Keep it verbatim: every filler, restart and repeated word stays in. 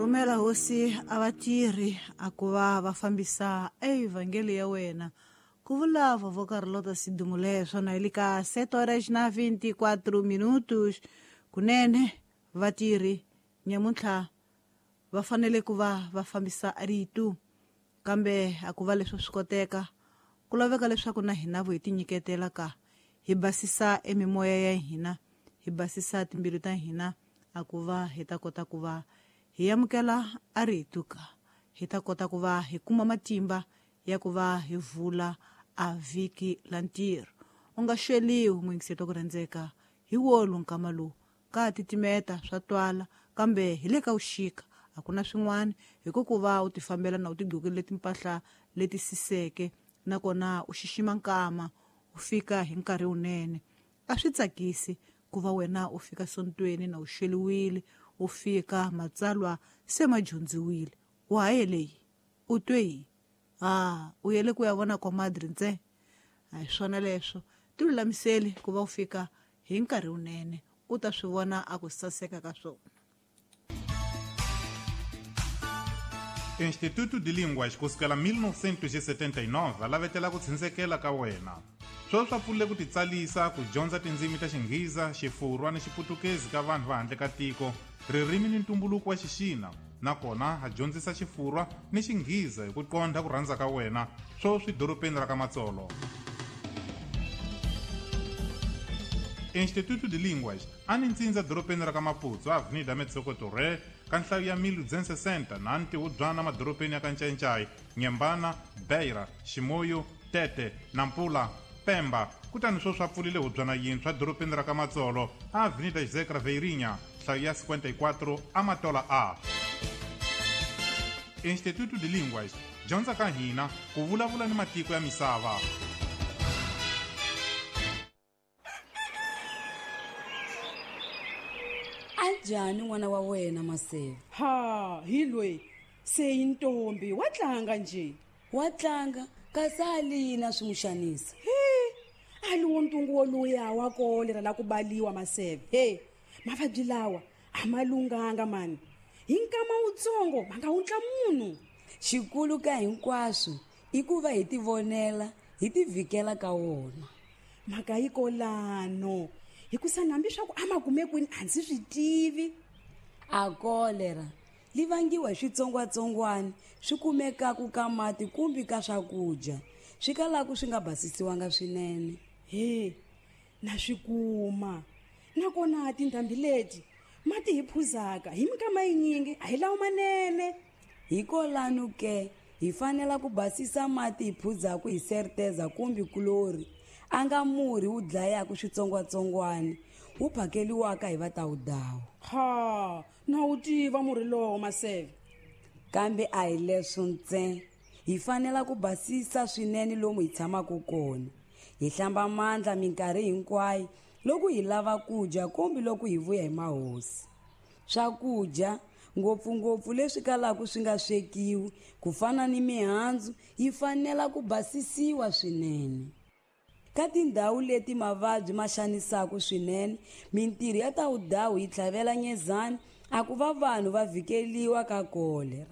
Rhumela hosi a vatirhi a ku va va fambisa evhangeli ya wena. Ku vula vovó Carlota Sidumule swona hi le ka sete horas na vinte e quatro minutos. Kunene vatirhi nyamuntlha va fanele ku va va fambisa rito, kambe a ku va leswi swi koteka ku laveka leswaku na hina vo hi tinyiketela ka hi basisa emimoya ya hina, hi basisa timbilu ta hina, a ku va hi ta kota ku va hi amukela a rito ka hi ta kota ku va hi kuma matimba ya ku va hi vula a vhiki la ntirho. U nga xeliwi muyingiseti wa ku rhandzeka hi wolu nkama lowu ka titimeta swa twala, kambe hi le ka vuxika a ku na swin'wana hi ku ku va u tifambela na u tigqokile timpahla leti siseke, nakona u xixima nkama u fika hi nkarhi wunene. A swi tsakisi ku va wena u fika sontweni na u xeliwile, u fika matsalwa se ma dyondziwile, wa ha yele yi u twe yi a u yele ku ya vona comadre ntsena. A hi swona leswo, ti lulamiseli ku va u fika hi nkarhi wunene, u ta swi vona a ku saseka ka swona. Instituto de Línguas kusukela mil novecentos e setenta e nove lavetela ku tshundzekela ka wena. Sweswi swa pfulile ku titsalisa ku dyondza tindzimi ta Xinghiza, Xifurwa ni Xiputukezi ka vanhu va handle ka tiko, ririmi ni ntumbuluko wa Xixina, nakona ha dyondzisa Xifurwa ni Xinghiza hi ku qondha ku rhandza ka wena, sweswi dorobeni ra ka Matsolo. Instituto de Línguas a ni ntsindza dorobeni ra ka Maputo, Avenida Metsoko Torre, ka nhlayo ya mil duzentos e sessenta na ntihubyana madorobeni ya ka Ncayincai, Nyembana, Beira, Chimoio, Tete, Nampula, Pemba. Kutani sweswi a pfulile hubyana yintshwa dorobeni ra ka Matsolo, Avenida José Craveirinha, nhlayo ya cinquenta e quatro, Amatola A. Instituto de Línguas, dyondza ka hina ku vulavula ni matiko ya misava. Njhani n'wana wa wena Maseve? Ha, hi loyi se yi ntombi wa tlanga nje. Wa tlanga kasi a lina swi n'wi xanisa. He, a li wo ntungu woluya wa kolera la ku baliwa Maseve. He, mavabyi lawa a ma lunghanga mani. Hi nkama wutsongo ma nga wundla munhu. Xikulu ka hinkwaswo i ku va hi tivonela, hi tivhikela ka wona. Mhaka yi kolano. Hikusa hambi swa ku a ma kume kwini a ndzi swi tivi. A kolera li vangiwa hi switsongwatsongwana swi kumekaku ka mati kumbe ka swakudya swi kalaku swi nga basisiwanga swinene. He, na swi kuma. Nakona tindhambi leti mati hi phuzaka hi minkama yinyingi a hi lawo manene. Hikolano ke hi fanela ku basisa mati hi phuzaku hi serteza kumbe kulori, a nga murhi wu dlayaka switsongwatsongwana wu phakeliwaka hi vatawudawu. Ha, na wu tiva murhi lowo Maseve. Kambe a hi leswo ntsena, hi fanela ku basisa swinene lomu hi tshamaka kona, hi hlamba mandla minkarhi hinkwayo loko hi lava ku dya kumbe loko hi vuya hi mahosi. Swakudya ngopfungopfu leswi kalaka swi nga swekiwi ku fana ni mihandzu yi fanela ku basisiwa swinene. Ka tindhawu leti mavabyi ma xanisaka swinene, mintirho ya tawudawu yi tlhavela nyezani a ku va vanhu va vhikeliwa ka kolera.